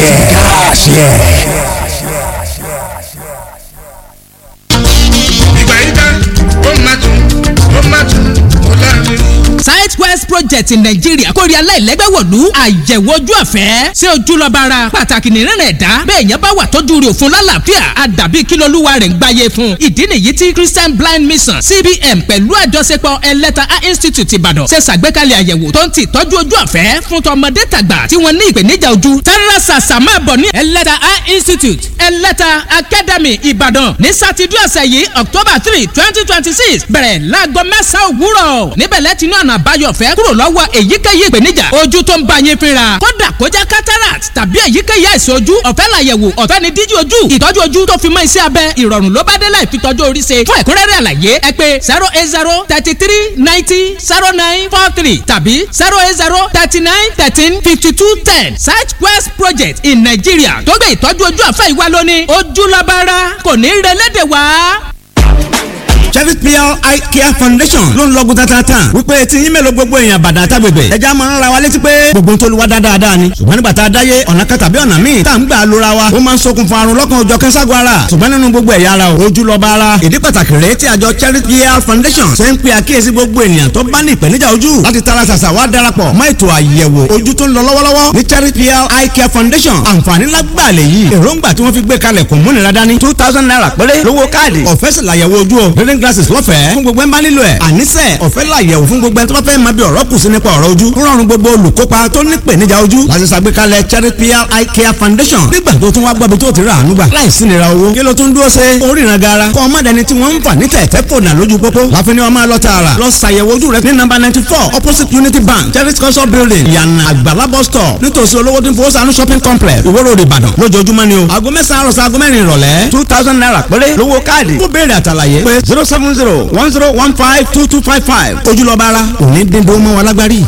Káàṣì ẹ̀. Káàṣì ẹ̀. Ìgbà yìí tán, ó máa tún, ó máa tún, ó láàrin. Site Quest Project in Nigeria kórè aláìlẹ́gbẹ́ wọ̀lú àyẹ̀wò ojú ọ̀fẹ́. Ṣé ojú lọ́ba ara pàtàkì nìrìnà ẹ̀dá? Bẹ́ẹ̀ yẹn bá wà tọ́jú rẹ̀ òfun lálàáfíà, àdàbí kí lolúwa rẹ̀ ń gbáyé fún. Ìdí nìyí tí Christian Blind Mission CBM pẹ̀lú àjọṣepọ̀ Ẹlẹ́ta Eye Institute Ìbàdàn ṣe ṣàgbékalẹ̀ àyẹ̀wò tó ń ti ìtọ́jú ojú ọ̀fẹ́ fún tọmọdé tàgbà tí wọ́n ní ìpèníjà ojú. Tẹ́rẹ́ sàṣà máa bọ̀ ní Ẹlẹ́ta Eye Institute, Ẹlẹ́ta Academy, Ìbàdàn ní sátidé ọ̀sẹ̀ yìí, October 3, 2026, bẹ̀rẹ̀ láago 9 òwúrọ̀. Níbẹ̀ lẹ́tí ní ọ̀nà àbáyọ ọ̀fẹ́ kúrò lọ́wọ́ èyíkéyìí ìpèníjà ojú tó ń bá yín fínra, kódà kó jẹ́ cataract tàbí èyíkéyìí àìsàn ojú. Ọ̀fẹ́ làyẹ̀wò, ọ̀fẹ́ ni díjú ojú, ìtọ́jú ojú tó fi mọ́ iṣẹ́ abẹ, ìrọ̀rùn ló bá dé láì fi tọ́jú orí ṣe. Fún ẹ̀kúnrẹ́rẹ́ àlàyé, ẹ pè 08033900943 tàbí 08039135210. Site Quest Project in Nigeria tó gbé ìtọ́jú ojú ọ̀fẹ́ ìwá lónìí, ojúlọ́bára kò ní relé wá. Chevy PL Eye Care Foundation ló ń lọ́gùn tatata wípé tí yín mélòó gbogbo èèyàn bàdà àtàgbègbè ẹja máa ń ra wa létí pé gbogbo ń tolúwa dáadáa ni. Ṣùgbọ́n nígbà tá a dáyé, ọ̀nà kan tàbí ọ̀nà míì tá à ń gbà lóra wa, ó máa ń ṣokùnfà àrùn lọ́kàn òjọ̀ kẹ́sàgọ́ ara. Ṣùgbọ́n nínú gbogbo ẹ̀yà ara o, ojú lọ́ba ara. Ìdí pàtàkì rèé tí àjọ Chevy PL Foundation ṣe ń pe àkíyèsí gbogbo ènìyàn tó bá ní ìpèníjà ojú láti tara ṣàṣà wá darapọ̀ mọ́ ètò àyẹ̀wò ojú tó ń lọ lọ́wọ́lọ́wọ́ ní Chevy PL Eye Care Foundation. Àǹfààní lágbàlẹ̀ yìí, èròǹgbà tí wọ́n fi gbé kalẹ̀ kò múnira dání. ₦2,000 péré lówó káàdì, ọ̀fẹ́ sì làyẹ̀wò ojú o. Reading glasses lọ́fẹ̀ẹ́ fún gbogbo ẹ̀ ń bá nílò ẹ̀. Àníṣe ọ̀fẹ́ làyẹ̀wò fún gbogbo ẹ̀ tó bá fẹ́ máa bí ọ̀rọ̀ kù sí nípa ọ̀rọ̀ ojú. Rọrùn gbogbo olùkópa tó ní ìpèníjà ojú láti ṣàgbékalẹ̀ Cherry PL Eye Care Foundation. Nígbà tó tún wá gbọ́bi tó ti rà àánú gbà láìsí nira owó, kí ló tún dúró ṣe oríran gara? Kọ́ ọmọdé ni tí wọ́n ń fà ní tẹ̀tẹ̀ fònà lójú pópó láfi ni wọ́n máa lọ tààrà lọ ṣàyẹ̀wò ojú rẹ ní nọ́mbà 94, opposite Unity Bank, Cherry Culture Building, Ìyànà Àgbàlá bus stop, nítòsí olówó tí ń fowó sànú shopping complex, Ìwó Road, Ìbàdàn, lójoojúmọ́ ni o. Aago 9 àárọ̀ sí aago 4 ìrọ̀lẹ́, ₦2,000 péré lówó káàdì. Fún béèrè àtàlàyé, pé 07010152255. Ojúlọ́ba ara òní dín dó mọ́ wa lágbárí.